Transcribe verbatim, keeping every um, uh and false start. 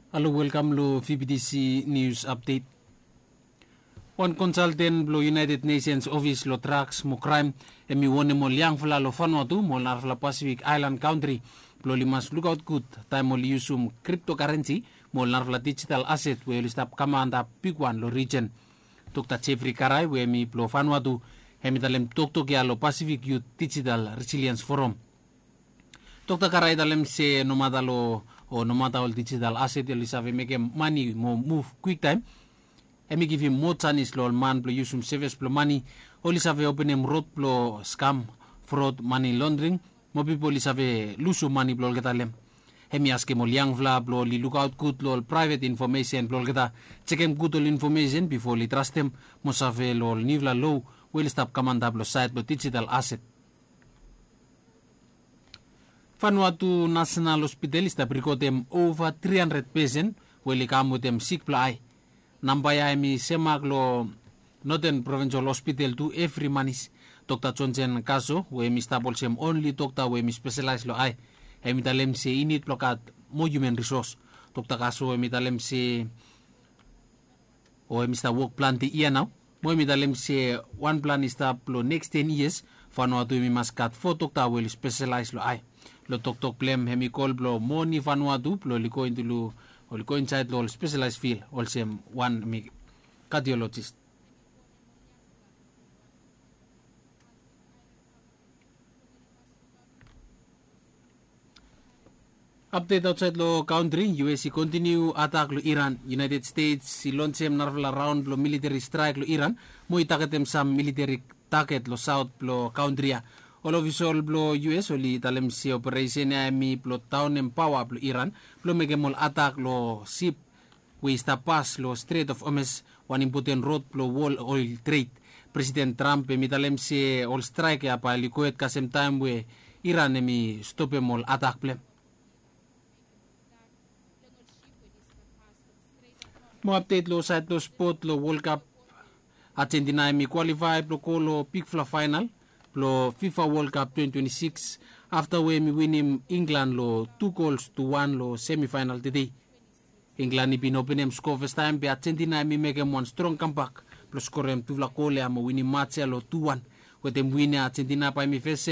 Halo, welkam long V B T C News Update. Wan konsalten blong United Nations Office long Drugs mo Kraem hemi wonem ol yangfala long Vanuatu mo ol narafala Pasifik aelan kantri blong oli mas lukaot gud taem oli yusum kriptokarensi mo ol narafala dijital aset we oli stap kam antap bigwan long rijen. Dokta Jeffrey Karai we hemi blong Vanuatu hemi talem toktok ya long Pasifik Yut Dijital Resiliens Foram. Dokta Karai i talem se nomata long o nomata ol dijital aset oli save mekem mane mo muv kwiktaem, hemi givim moa janis long ol man blong yusum sevis blong mane, oli save openem rod blong skam, frod, mane londring, mo pipol oli save lusum mane blong olgeta long hem. Hemi askem ol yangfala blong oli lukaot gud long ol praevet infomesen blong olgeta, jekem gud ol infomesen bifo oli trastem mo save long ol niufala loa we oli stap kam antap long saed blong dijital aset. Vanuatu Nasenal Hospital i stap rikotem ova tri handred pesen we oli kam wetem sik blong ae. Namba ya hemi semak long Noten Provinsal Hospital tu evri manis. Dokta Jonsen Kaso we hemi stap olsem onli dokta we hemi spesalaes long ae, hemi talem se i nid blong gat moa hiuman risos. Dokta Kaso hemi talem se o hemi stap wok plante yia nao mo hemi talem se wan plan i stap long neks ten yias Vanuatu hemi mas gat fo dokta we oli spesalaes long ae. Long toktok blong hem hemi kol blong moni Vanuatu blong oli go intu long oli go insaed long ol spesalaes fil olsem wan hemi kadiolojis. Apdet aotsaed long kantri, U S i kontiniu atak long Iran. United States i lonsem narafala raon blong militeri straek long Iran mo i tagetem sam militeri taget long saot blong kantri ya. Ol ofisol blong U S oli talem se operesen ya hemi blong daonem paoa blong Iran blong mekem ol atak long sip we i stap pas long Strait of Hormuz, wan impoten rod blong wol oel tred. Presiden Trump hemi talem se ol straek ya bae oli gohed kasem taem we Iran hemi stopem ol atak blong hem. Mo apdet long saed blong spot long Wol Kap, Argentina hemi kwalifae blong go long bigfala faenal blong FIFA Wol Kap twenty twenty six afta we hemi winim Inglan long tu gols tu wan long semifaenal tede. Inglan i bin openem skoa fastaem be Argentina hemi mekem wan strong kambak blong skorem tufala gol ya mo winim mats ya long tu wan. Wetem win ya Argentina bae hemi fes